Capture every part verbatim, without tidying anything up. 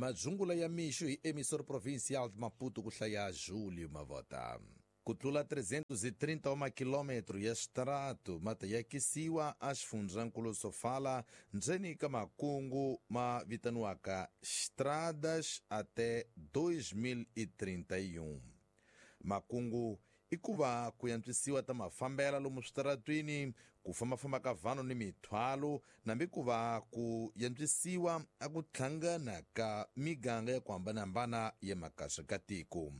Madzungula ya mixo hi emissora provincial de Maputo ku hlaya Júlio Mavota. Ku tlula trezentos e trinta e um quilômetro ya xitarato ma ta yakisiwa a xifundzankulu Sofala ndzeni ka makungu ma vitaniwaka Estradas até dois mil e trinta e um. Makungu i ku va ku yantswisiwa ta mafambela lomu switaratwini, ku fambafamba ka vanhu ni mithwalo, nambi ku va ku yantswisiwa a ku hlangana ka miganga ya ku hambanahambana ya makasa ka tiko.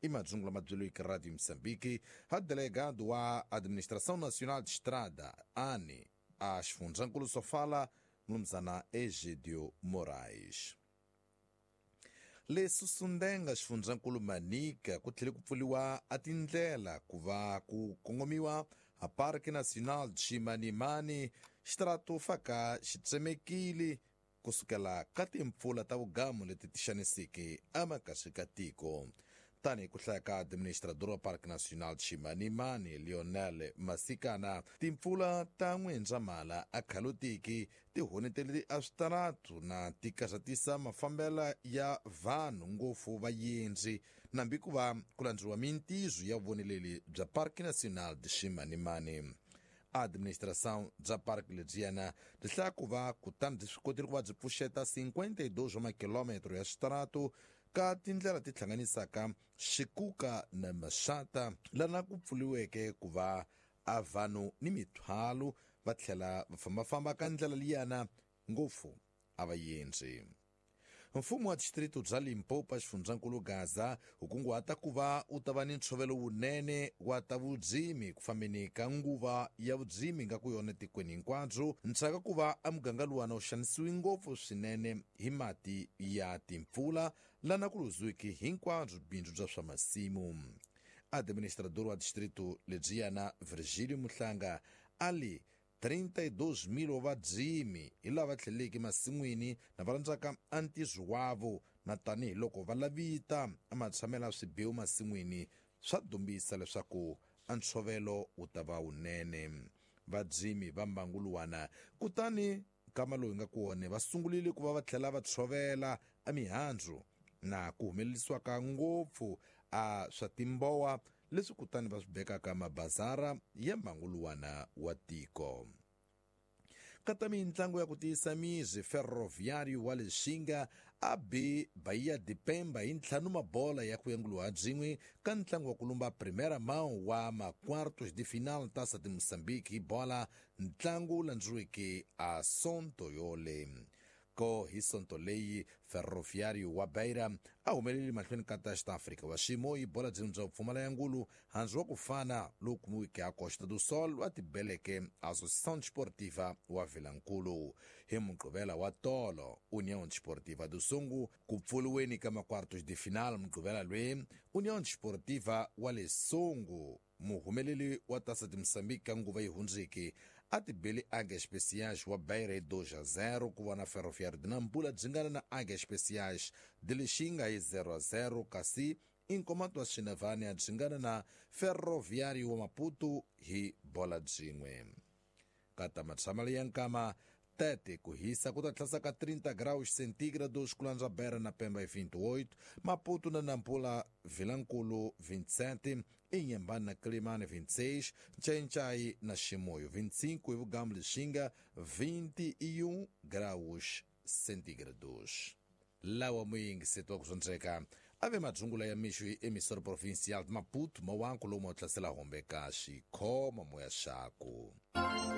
I madzungula mabyelo Radio Moçambique, ha delegado wa Administração Nacional de Estrada, ANE, a xifundzankulu Sofala, mnumzana Egidio Moraes. Leswi Sundenga xifundzankulu Manica ku tlhele ku pfuriwa a tindlela ku va ku kongomiwa a Parque Nacional de Chimanimani, xitarato faka xi tsemekile kusukela ka timpfula ta vugamu leti ti xaniseke emakasi ka tiko. Tani ku hlaya ka administrador wa Parque Nacional de Chimanimani, Lionel Masikana, timpfula ta N'wendzamhala a khalotiki ti honetele a switaratu na ti karhatisa mafambela ya vanhu ngopfu vayendzi, nambi ku va ku landzeriwa mintizo ya vuvoneleli bya Parque Nacional de Chimanimani. Administração bya parque lebyiyana byi hlaya ku va kutani byi swi kotile ku va byi pfuxeta cinquenta e dois wa makilometro ya switaratu ka tindlela ti hlanganisaka Xikuka na Maxata, lana ku pfuriweke ku va a vanhu ni mithwalo va tlhela va fambafamba ka ndlela liyana ngopfu a va yendzi. Mfumo wa distrito bya Limpopo xifundzankulu Gaza wu kunguhata ku va u ta va ni ntshovelo wunene wa ta vudzimi ku fambeni ka nguva ya vudzimi nga ku yona tikweni hinkwabyo, ndzhaka ku va a muganga luwana wu xanisiwi ngopfu swinene hi mati ya timpfula lana ku luziwiki hinkwabyo bindzu bya swa masimu. Administrador wa distrito lebyiyana Virgílio Muhlanga ali trinta e dois mil wa vadzimi hi lava tlheleke masin'wini na va rhandzaka a ntirho wavo, na tanihiloko va lavita a matshamela swibihu masin'wini swa dumbisa leswaku a ntshovelo wu ta va wunene. Vadzimi va mbangu luwana kutani nkama lowu hi nga ku wona va sungurile ku va va tlhela va tshovela a mihandzu na ku humelerisiwa ka ngopfu a swa timbowa leswi kutani va swi bekaka mabazara ya mbangu luwana wa tiko. Kata mintlangu ya ku tiyisa mizi, Ferroviário wa Lixinga a bi Bahia de Pemba hi ntlhanu mabola ya ku yanguliwa byin'we ka ntlangu wa ku lumba Primeira Mão wa ma-quartos de final Taça de Moçambique hi bola, ntlangu wu landzeriweke a Sonto yole. Ko hi sonto leyi Ferroviário wa Beira a humeleli mahlweni ka ta Xita-Afrika wa xiyimo hi bola byin'we bya ku pfumala ya ngulu handzu wa ku fana lowu kumiweke a Costa do Sol wa tibeleke Associação Desportiva wa Vilankulu. Hi Mugqivela wa tolo União Desportiva do Songo ku pfuriweni ka ma-quartos de final Mugqivela lweyi União Desportiva wa le Songo muhumeleli wa Taça de Moçambique ka nguva yi hundzeke a tibeli Águias Especiais wa Beira hi dois a zero, ku vona Ferroviário de Nampula dzingana na Águias Especiais de Lixinga hi zero a zero, kasi Inkomato wa Xinavane a dzingana na Ferroviário wa Maputo hi bola byin'we. Kata matshamelo ya nkama tete ku hisa ku ta tlhasa ka trinta graus centígrados ku landza Beira na Pemba hi vinte e oito, Maputo na Nampula Vilankulu vinte e sete, Inhambane na Quelimane vinte e seis, Nchai na Chimoio vinte e cinco e Vugambo Lixinga vinte e um graus centígrados. Lawa muyingiseti wa ku swondzeka ave madzungula ya mixo hi emissora provincial de Maputo mawanku lomu wa tlasela hombe ka xikhoma moya xaku.